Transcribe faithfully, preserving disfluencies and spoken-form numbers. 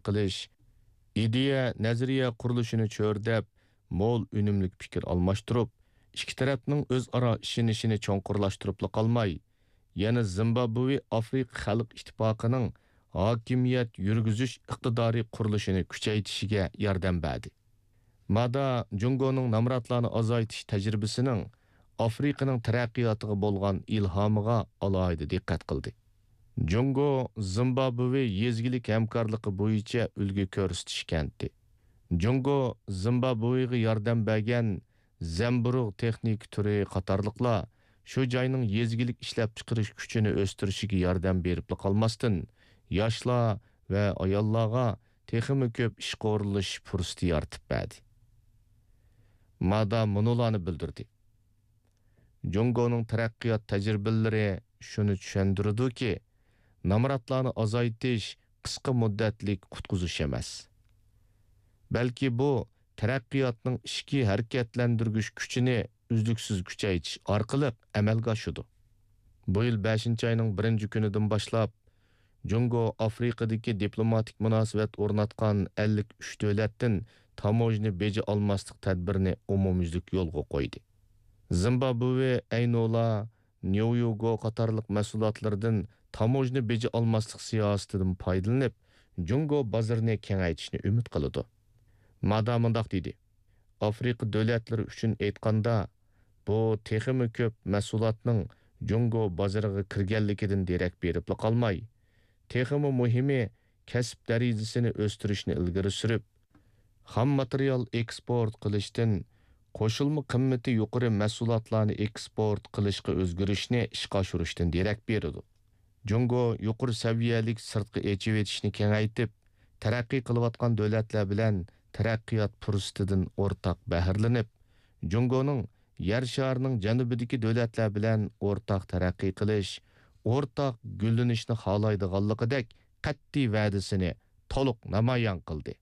قىلىش، ئىدىيە، نەزەرىيە قۇرۇلۇشىنى چۆرىدەپ، مول ئۈنۈملۈك پىكىر ئالماشتۇرۇپ، ئىككى تەرەپنىڭ ئۆزئارا ئىشىنىشىنى چوڭقۇرلاشتۇرۇپلا قالماي، يەنە زىمبابۋې ئافرىقا خەلق ئىتتىپاقىنىڭ ھاكىمىيەت يۈرگۈزۈش ئىقتىدارى قۇرۇلۇشىنى كۈچەيتىشىگە ياردەم بەردى. مادا جۇڭگونىڭ نامراتلارنى ئازايتىش تەجرىبىسىنىڭ ئافرىقىنىڭ تەرەققىياتىغا بولغان ئىلھامىغا ئالاھىدە دىققەت قىلدى. جۇڭگو زىمبابۋې يېزا ئىگىلىك ھەمكارلىقى بويىچە ئۈلگە كۆرسىتىش كەنتى. جۇڭگو زىمبابۋېغا ياردەم بەرگەن زەمبۇرۇغ تېخنىكا تۈرى قاتارلىقلار شۇ جاينىڭ يېزا ئىگىلىك ئىشلەپچىقىرىش كۈچىنى ئۆستۈرۈشىگە ياردەم بېرىپلا قالماستىن، ياشلار ۋە ئاياللارغا تېخىمۇ كۆپ ئىشقا ئورۇنلىشىش پۇرسىتى يارىتىپ بەردى. مادا مۇنۇلارنى بىلدۈردى: جۇڭگونىڭ تەرەققىيات تەجرىبىلىرى شۇنى چۈشەندۈرىدۇكى، نامراتلارنى ئازايتىش قىسقا مۇددەتلىك قۇتقۇزۇش ئەمەس، بەلكى بۇ تەرەققىياتنىڭ ئىچكى ھەرىكەتلەندۈرگۈچ كۈچىنى ئۈزلۈكسىز كۈچەيتىش ئارقىلىق ئەمەلگە ئاشىدۇ. بۇ يىل بەشىنچى ئاينىڭ بىرىنچى كۈنىدىن باشلاپ، جۇڭگو ئافرىقىدىكى دىپلوماتىك مۇناسىۋەت ئورناتقان ئەللىك ئۈچ دۆلەتتىن تاموژنا بېجى ئالماسلىق تەدبىرىنى ئومۇميۈزلۈك يولغا قويدى. زىمبابۋې ئەينولا، نيويوگو قاتارلىق مەھسۇلاتلىرىدىن تاموژنا بېجى ئالماسلىق سىياسىتىدىن پايدىلىنىپ، جۇڭگو بازىرىنى كېڭەيتىشنى ئۈمىد قىلىدۇ. مادا مۇنداق دېدى: ئافرىقا دۆلەتلىرى ئۈچۈن ئېيتقاندا، بۇ تېخىمۇ كۆپ مەھسۇلاتنىڭ جۇڭگو بازىرىغا كىرگەنلىكىدىن دېرەك بېرىپلا قالماي، تېخىمۇ مۇھىمى، كەسىپ دەرىجىسىنى ئۆستۈرۈشنى ئىلگىرى سۈرۈپ، خام ماتېرىيال ئېكسپورت قىلىشتىن قوشۇلما قىممىتى يۇقىرى مەھسۇلاتلارنى ئېكسپورت قىلىشقا ئۆزگىرىشنى ئىشقا ئاشۇرۇشتىن دېرەك بېرىدۇ. جۇڭگو يۇقىرى سەۋىيەلىك سىرتقا ئېچىۋېتىشنى كېڭەيتىپ، تەرەققىي قىلىۋاتقان دۆلەتلەر بىلەن تەرەققىيات پۇرسىتىدىن ئورتاق بەھرىلىنىپ، جۇڭگونىڭ يەر شارىنىڭ جەنۇبىدىكى دۆلەتلەر بىلەن ئورتاق تەرەققىي قىلىش، ئورتاق گۈللىنىشنى خالايدىغانلىقىدەك قەتئىي ۋەدىسىنى تولۇق نامايان قىلدى.